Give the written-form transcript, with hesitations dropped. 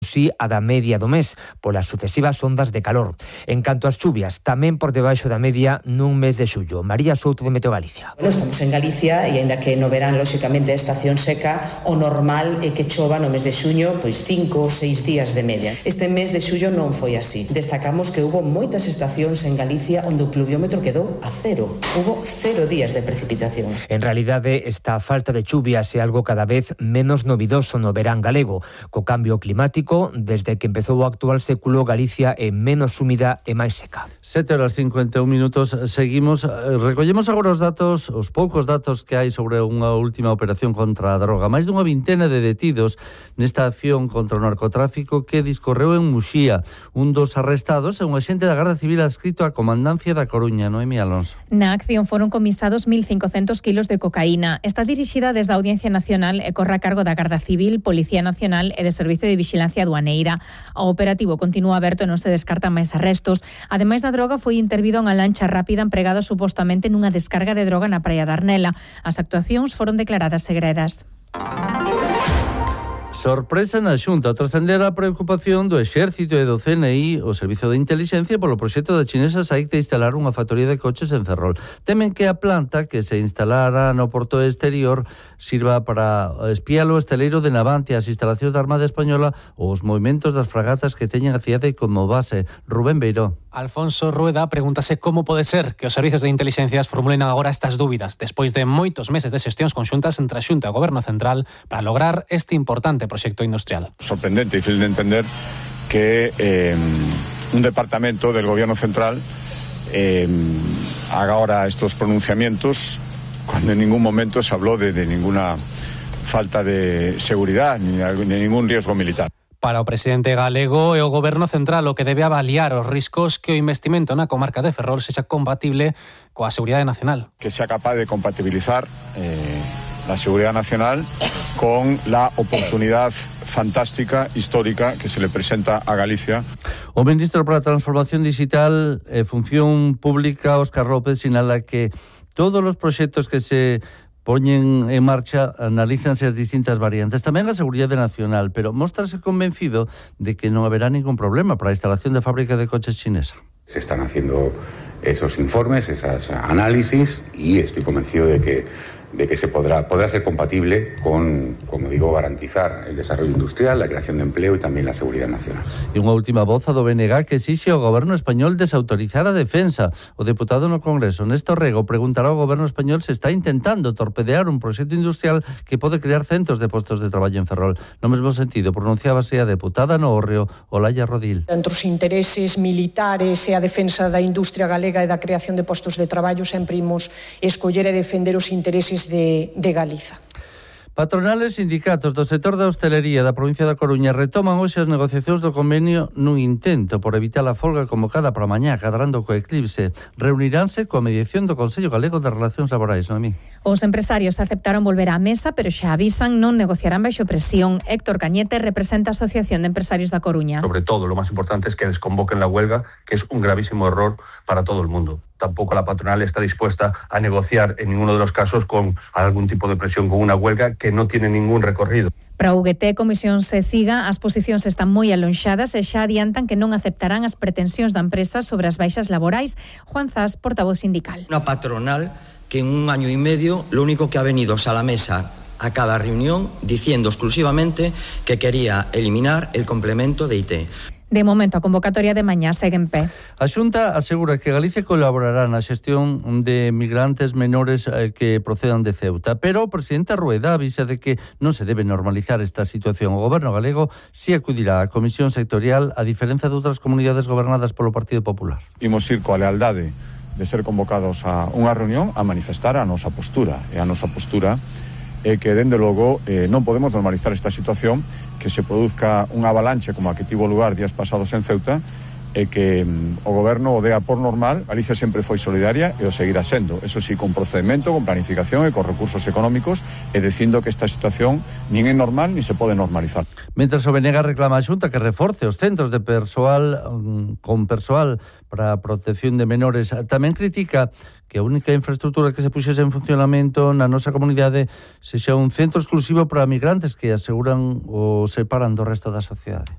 si a da media do mes, polas sucesivas ondas de calor. En canto ás chuvias, tamén por debaixo da media nun mes de xullo. María Souto, de Meteo Galicia. Estamos en Galicia e, aínda que no verán, lóxicamente, a estación seca, o normal é que chova no mes de xuño, pois 5 ou 6 días de media. Este mes de xullo non foi así. Destacamos que hubo moitas estacións en Galicia onde o pluviómetro quedou a cero. Hubo 0 días de precipitación. En realidade, esta falta de chuvias é algo cada vez menos novidoso no verán galego. Co cambio climático, desde que empezou o actual século, Galicia é menos húmida e máis seca. 7:51. Seguimos. Recollemos agora os poucos datos que hai sobre unha última operación contra a droga. Máis dunha vintena de detidos nesta acción contra o narcotráfico que discorreu en Muxía. Un dos arrestados é un agente da Garda Civil adscrito á Comandancia da Coruña, Noemí Alonso. Na acción foron comisados 1.500 kilos de cocaína. Está dirixida desde a Audiencia Nacional e corre a cargo da Garda Civil, Policía Nacional e de Servicio de Vixilancia Aduaneira. O operativo continúa aberto e non se descartan máis arrestos. Ademais da droga, foi intervido unha lancha rápida empregada supostamente nunha descarga de droga na praia de Arnela. As actuacións foron declaradas segredas. Sorpresa na Xunta, trascender a preocupación do Exército e do CNI, o Servizo de Intelixencia, polo proxecto da chinesa SAIC de instalar unha factoría de coches en Ferrol. Temen que a planta que se instalara no porto exterior sirva para espiar o esteleiro de Navante, as instalacións da Armada Española ou os movimentos das fragatas que teñen a cidade como base. Rubén Beiró. Alfonso Rueda pregúntase como pode ser que os servizos de inteligencias formulen agora estas dúbidas despois de moitos meses de xestións conxuntas entre a Xunta e o Goberno Central para lograr este importante proxecto industrial. Sorprendente y difícil de entender que un departamento del Gobierno Central haga ahora estos pronunciamientos cuando en ningún momento se habló de ninguna falta de seguridad ni ningún riesgo militar. Para o presidente galego e o Goberno Central o que debe avaliar os riscos que o investimento na comarca de Ferrol sexa compatible coa seguridade nacional. Que sea capaz de compatibilizar la seguridad nacional con la oportunidad fantástica, histórica, que se le presenta a Galicia. O ministro para a Transformación Digital e Función Pública, Óscar López, sinala que todos os proxectos que se poñen en marcha analízanse as distintas variantes, tamén a seguridade nacional, pero móstrase convencido de que non haberá ningún problema para a instalación de fábrica de coches chinesa. Se están haciendo esos informes, esas análisis, y estoy convencido de que se podrá ser compatible con, como digo, garantizar el desarrollo industrial, la creación de empleo y también la seguridad nacional. E unha última voz do BNG que exixe ao Goberno español desautorizar a defensa. O deputado no Congreso, Néstor Rego, preguntará ao Goberno español se está intentando torpedear un proxecto industrial que pode crear centos de postos de traballo en Ferrol. No mesmo sentido, pronunciábase a deputada no Hórreo, Olaya Rodil. Entre os intereses militares e a defensa da industria galega e da creación de postos de traballo, sempre imos escoller e defender os intereses de Galiza. Patronales e sindicatos do sector da hostelería da provincia da Coruña retoman hoxe as negociacións do convenio nun intento por evitar a folga convocada para mañá, cadrando co eclipse. Reuniránse coa mediación do Consello Galego de Relacións Laborais, Noemí. Os empresarios aceptaron volver á mesa, pero xa avisan non negociarán baixo presión. Héctor Cañete representa a Asociación de Empresarios da Coruña. Sobre todo, lo más importante es que desconvoquen la huelga, que es un gravísimo error para todo el mundo. Tampoco la patronal está dispuesta a negociar en ninguno de los casos con algún tipo de presión, con una huelga que no tiene ningún recorrido. Para a UGT, Comisión Seciga, as posicións están moi alonxadas e xa adiantan que non aceptarán as pretensións da empresa sobre as baixas laborais. Juan Zas, portavoz sindical. Una patronal que en 1 año y medio lo único que ha venido es a la mesa a cada reunión diciendo exclusivamente que quería eliminar el complemento de IT. De momento, a convocatoria de mañá segue en pé. A Xunta asegura que Galicia colaborará na xestión de migrantes menores que procedan de Ceuta, pero o presidente Rueda avisa de que non se debe normalizar esta situación. O Goberno galego si acudirá á Comisión Sectorial, a diferencia de outras comunidades gobernadas polo Partido Popular. Imos ir coa lealdade de ser convocados a unha reunión a manifestar a nosa postura. E a nosa postura é que, dende logo, non podemos normalizar esta situación, que se produzca unha avalanche como a que tivo lugar días pasados en Ceuta, e que o Goberno o dea por normal. Galicia sempre foi solidaria e o seguirá sendo, eso sí, con procedimento, con planificación e con recursos económicos, e dicindo que esta situación nin é normal ni se pode normalizar. Mentres o BNG reclama a Xunta que reforce os centros de persoal con persoal para a protección de menores, tamén critica que a única infraestructura que se puxese en funcionamento na nosa comunidade sexa un centro exclusivo para migrantes que aseguran o separan do resto da sociedade.